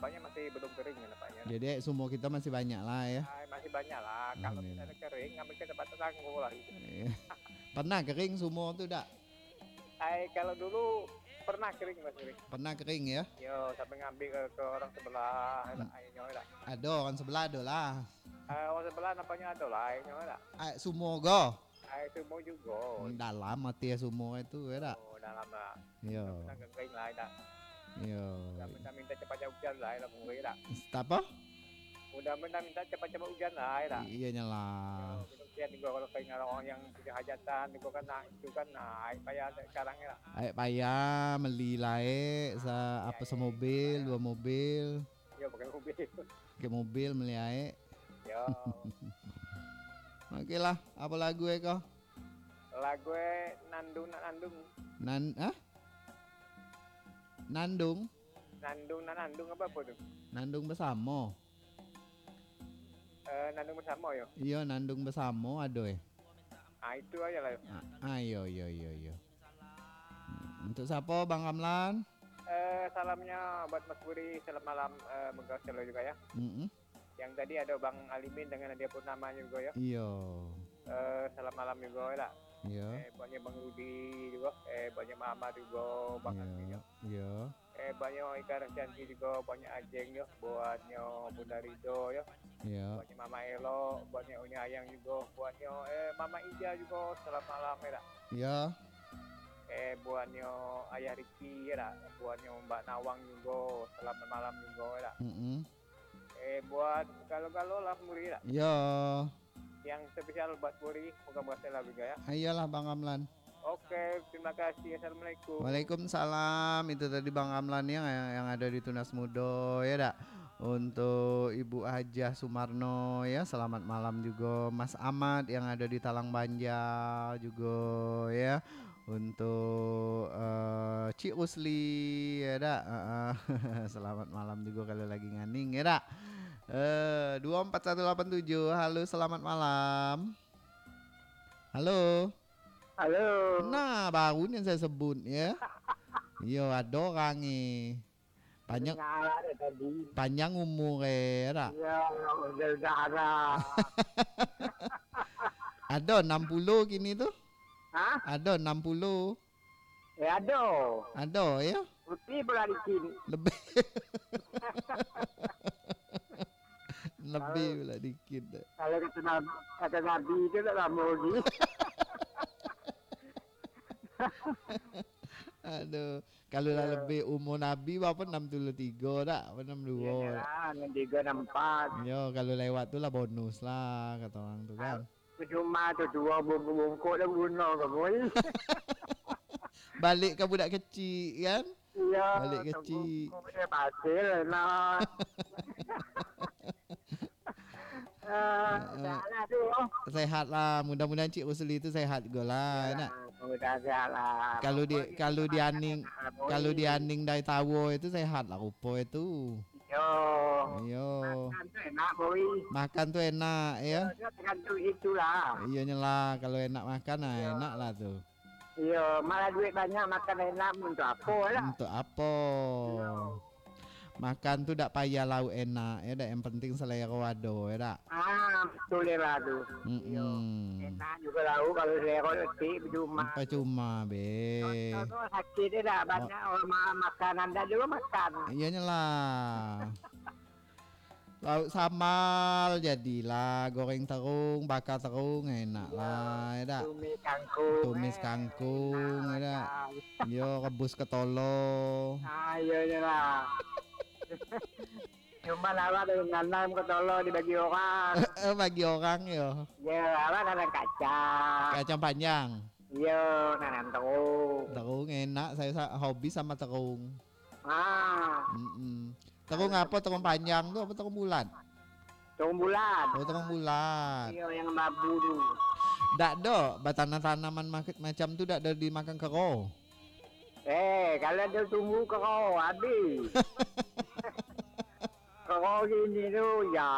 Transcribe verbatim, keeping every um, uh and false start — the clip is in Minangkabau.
Nampaknya masih belum kering ya nampaknya. Jadi, sumur kita masih banyak lah ya. Ah, masih banyak lah. Kalau Amin. Misalnya kering, ambil ke tempat tetangga lah gitu. Iya. Pernah kering sumur tu dak? Ai, kalau dulu pernah kering, Mas, kering. Pernah kering ya? Yo, sampai ngambil ke, ke orang sebelah, Hmm. Airnya lah. Ada orang sebelah ada lah. Eh, orang sebelah nampaknya ada lah airnya lah. Air sumur go. Air sumur juga. Hmm, dalam mati ya sumur itu ya dak? Oh, dalam lah. Yo. Pernah kering lah, dak? Yo. Minta, minta cepat hujan lah, dak mungkin dak? Apa? Udah minta, minta cepat-cepat hujan lah, dak? Iya nyalah. Yo, kasihan juga kalau keringat orang yang punya hajatan juga kan, nah, itu kan, nah, air payah sekarang ya dak? Air payah, meli lah, eh, sa-, apa, semobil, dua mobil. Yo, pakai mobil. Pakai mobil, meli air. Yo. Oke lah, apa lagu eh kau? Lagu eh Nandung Nak Nandung. Nan-, ah? Nandung? Nandung Nak Nandung apa, apa tu? Nandung Bersamo. Eh, Nandung Bersamo yo? Iyo, Nandung Bersamo ado eh. Ah, itu aja lah. Ah, ah, iyo, iyo, iyo, iyo. Hmm, untuk siapa, Bang Ramlan? Eh, salamnya buat Mas Buri, selamat malam, eh, moga selalu juga ya. Mm-mm. Yang tadi ada Bang Alimin dengan Nadia Purnama juga ya. Iyo. Eh, selamat malam juga ya. Iyo. Eh, buatnya Bang Rudi juga, eh, buatnya Mama juga, Bang Iyo. Alimin ya. Iyo. Eh, buatnya Ika Rasyanti juga, buatnya Ajeng ya, buatnya Bunda Ridho ya. Iyo. Buatnya Mama Elok, buatnya Unya Ayang juga, buatnya, eh, Mama Ija juga, selamat malam ya dak? Iyo. Eh, buatnya Ayah Riki ya dak? Buatnya Mbak Nawang juga, selamat malam juga ya dak? Mm-mm. Eh, buat galo-galo lah Muri dak? Iyo. Yang spesial buat Muri, moga-moga sehat juga ya. Iyolah Bang Ramlan. Oke, terima kasih. Assalamualaikum. Waalaikumsalam. Itu tadi Bang Ramlan yang, yang, yang ada di Tunas Mudo ya dak? Untuk Ibu Hajah Sumarno ya, selamat malam juga. Mas Ahmad yang ada di Talang Banjar juga ya. Untuk, eh, Cik Rusli ya dak? Heeh. Selamat malam juga kalau lagi nganing ya dak? Eh, dua empat satu lapan tujuh. Halo, selamat malam. Halo. Halo. Nah, baru ni saya sebut ya. Yo, ada orang ni. Panjang Dengar dah tadi. Panjang umur eh, dak? Ya, udah, udah ada. Ada enam puluh kini tu? Hah? Ada enam puluh. Eh, ada. Ada ya? Lebih pula dikit. Lebih. Lebih Kalau pula dikit. Kalau kata Nabi, kata Nabi tu tak lama lagi. Aduh, kalau lah Ya. lebih umur Nabi berapa, enam puluh tiga dak? Apa enam dua? Iyalah, enam tiga, enam empat. Yo, kalau lewat tu lah bonus lah kata orang tu kan. Percuma tu, dua bungkuk-bungkuk dah guna ke, boy? Balik ke budak kecil kan? Iya, Balik kecil. Bungkuk dia pasir lah. Ah, Eh, eh, dah lah tu. Sehat lah. Mudah-mudahan Cik Rusli tu sehat juga lah, Ya, nak. Mudah sehat lah. Kalau di, Pokok kalau kita di aning, nak, boy. Kalau di aning dari tawa itu sehat lah rupa itu. Yo. Yo. Makan tu enak, boy. Makan tu enak, ya. Yo, dia tergantung itulah. Iya nyelah, kalau enak makan, nah, Yo. enak lah tu. Iyo, malah duit banyak, makan enak, untuk apo lah? Untuk apo? Iyo. Makan tu dak payah lauk enak, ya dak? Yang penting selero ado, ya dak? Ah, betul lah tu. Mm-mm. Iyo. Enak juga lauk kalau selero letik, percuma. Percuma, be. Contoh tu sakit, ya dak? Banyak orang ma-, makanan dak juga makan. Iya nyelah. Lauk sambal jadilah, goreng terung, baka terung, enak Iya, lah, ya dak? Tumis kangkung, Tumis eh, kangkung, enak ya dak? Macam. Yo, rebus ketolo. Ah, iya, iya lah. Cuma awak dah nanam ketolo dibagi orang. Eh, bagi orang, yo. Ya, awak nanam kacang. Kacang panjang. Iya, nanam terung. Terung enak, saya sa-, hobi sama terung. Ah. Mm-mm. Terung apa? Terung panjang tu apa terung bulat? Terung bulat. Oh, terung bulat. Iya, yang babu tu. Dak do, batanam-tanaman mak-, macam tu dak do dimakan kero. Eh, kalau ado tumbuh kero, habis. Kero gini tu, ya,